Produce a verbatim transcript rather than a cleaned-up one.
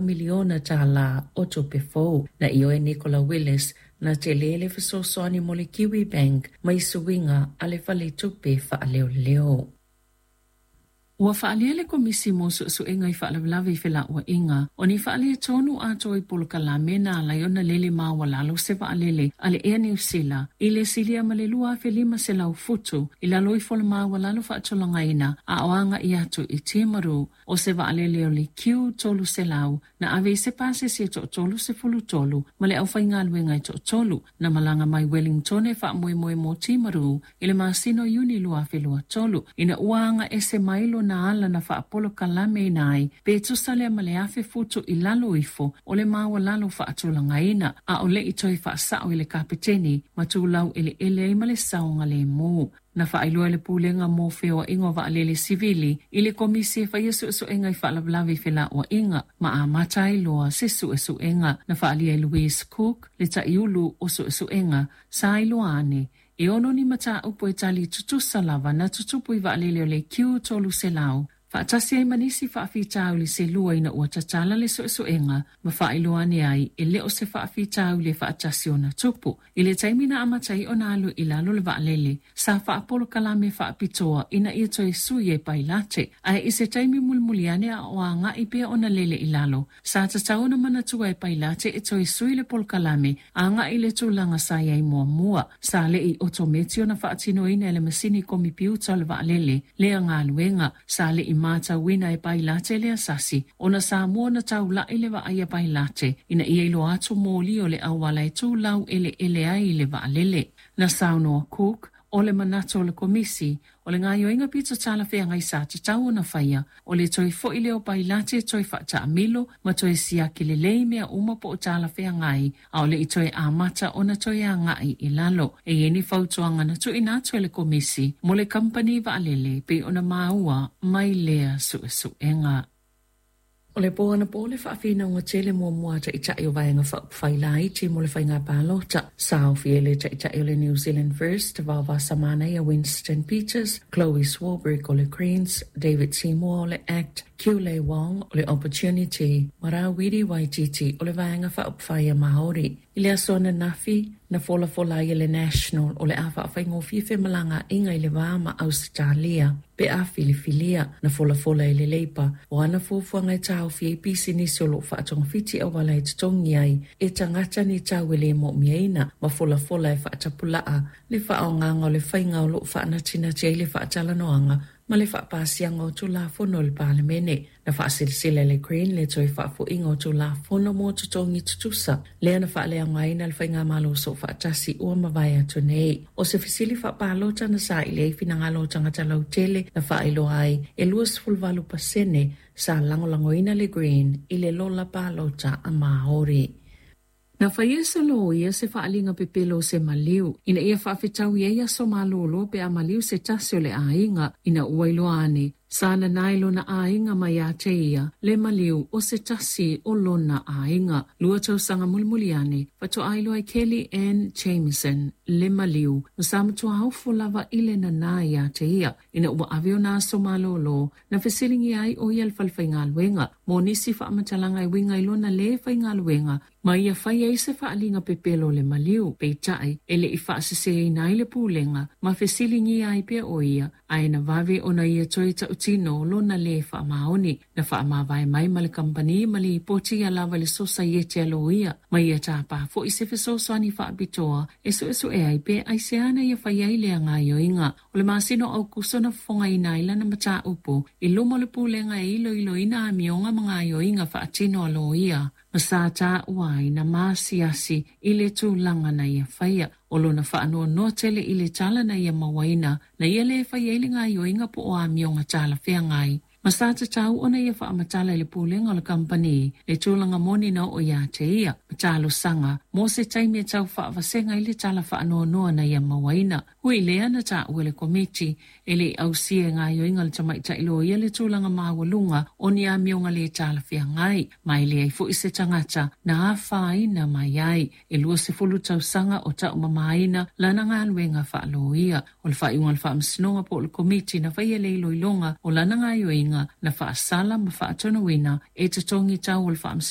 miliona tālā o tupe fou. Na ioe Nicola Willis na tele le fesoasoani mo le Kiwibank mai suiga a le faletupe faaleoleo. Ua faalia le Komisi mo Suesuega i Faalavelave i Felauaiga o ni faaletonu atoa i polokalame na ala ai ona lele maualalo se vaalele a le Air New Sila i le silia ma le lua afe lima selau futu i lalo ifo o le maualalo faatulagaina a o agai atu i Timaru. O se vaalele o le Q tolu selau na ave i se pasese e toatolu sefulu tolu ma le aufaigaluega e toatolu na malaga mai Wellington e faamoemoe mo Timaru i le masina o Iuni lua afe lua tolu ina ua aga ese mai lona ala na faapolokalameina ai pe tusa lea ma le afe futu i lalo ifo o le maualalo faatulagaina a o le i toe faasao i le kapeteni ma tulau eleele ai ma le saogalemu. Na faailoa e le Pulega mo Feoaiga o Vaalele Sivili i le Komisi e faia suesuega i faalavelave i felauaiga ma amata ai loa se suesuega. Na faaalia e Louise Cook le taiulu o suesuega sa iloa ane e ono ni mataupu e tali tutusa lava na tutupu i vaalele o le Q tolu selau faatasi ai ma nisi faafitauli se lua ina ua tatala le suesuega ma faailoa ane ai e le o se faafitauli e faatasi ona tupu. I le taimi na amata ai ona alu i lalo le vaalele, sa faapolokalame faapitoa ina ia toe sui e pailate, ae i se taimi mulimuli ane a o agai pea ona lele i lalo, sa tatau ona manatua e pailate e toe sui le polokalame agai i le tulaga sa i ai muamua. Sa le i otometi ona faatinoina e le masini komipiuta o le vaalele lea galuega. Sa le i matauina e pailate le asasi ona sa mua ona taulai le vaai a pailate ina ia iloa atu moli o le auala e tulau eleele ai i le vaalele. Na saunoa Cook o le manatu o le Komisi o le gaoioiga pito talafeagai sa tatau ona faia o le toe foi lea o pailate toe faataamilo ma toe siaki lelei mea uma po o talafeagai a o le i toe amata ona toe agai i lalo. E i ai ni fautuaga na tuuina atu e le Komisi mo le kamupani vaalele pei ona maua mai lea suesuega. O le po anapo le faafinauga tele muamua a taitai o Vaega Faaupufai Laiti mo le faiga palota. Sa aofia ai le taitai o le New Zealand First, Vaovasa Manaia Winston Peters, Chloe Swarbrick o le Greens, David Seymour o le ACT, Kiu-Lei Wong o le Opportunity, ma Rawiri Waititi o le Vaega Faaupufai a Māori. I le aso ananafi, na folafola ai e le National o le a faafaigofie femalagaaiga i le va ma Ausetalia pe a filifilia. Na folafola e le Leipa o ana fuafuaga e taofi ai pisinisi o loo faatogafiti auala e totogi ai e tagata ni tau e le moomiaina ma folafola e faatapulaa le faaaogaga o le faiga o loo faanatinati ai le faatalanoaga ma le faapasiaga o Tulafono o le Palemene. Na faasilesila e le Green le toe faafoiga o Tulafono mo totogi tutusa lea na faaleaogaina le faigamalo soofaatasi ua mavae atu nei. O se fesili faapalota na saili ai finagalo o tagata lautele na faailoa ai e lua sefulu valu pasene sa lagolagoina le Green i le lola palota a Māori. Na faia e se loia se faaaliga pepelo o se maliu ina ia faafetaui ai aso malolo pe a maliu se tasi o le aiga ina ua iloa ane sa nanae lona aiga mai ia te ia le maliu o se tasi o lona aiga. Lua tausaga mulimuli ane faatoa iloa e Kelly Ann Jamieson le maliu ma sa matua ofo lava i le nana ia te ia ina ua ave ona aso malolo na fesiligia ai o ia le falefaigaluega mo nisi faamatalaga e uiga i lona lē faigaluega ma ia fai ai se faaaliga pepelo o le maliu. Peitai e le i faaseseina ai le pulega ma fesiligia ai pea o ia ae na vave ona ia toe tautino lona lē faamaoni. Na faamavae mai ma le kamupani ma lipoti ia lava i le sosaiete a loia ma ia tapā foi se fesoasoani faapitoa e suesue ai pe aisea na ia fai ai lea gaoioiga. O le masina o Aukuso na fofogaina ai lana mataupu i luma o le pulega e iloiloina amioga ma gaoioiga faatino a loia ma sa taua ai na masiasi i le tulaga na ia faia. O lona faanoanoa tele i le tala na ia mauaina na ia lē fai ai le gaoioiga po o amioga talafeagai ma sa tatau ona ia faamatala i le pulega o le kamupani le tulaga moni na oo ia te ia ma talosaga mo se taimi e tau faavasega ai le tala faanoanoa na ia mauaina. Ui lea na taua e le Komiti e le i ausia e gaoioiga o le tamaitai loia le tulaga maualuga o ni amioga lē talafeagai ma e leai foi se tagata na afaina mai ai. E lua sefulu tausaga o taumamaina lana galuega faaloia. O le faaiuga o le faamasinoga po o le Komiti na faia le iloiloga o lana gaoioiga na faasala ma faatonuina e totogi tau o le faamasinoga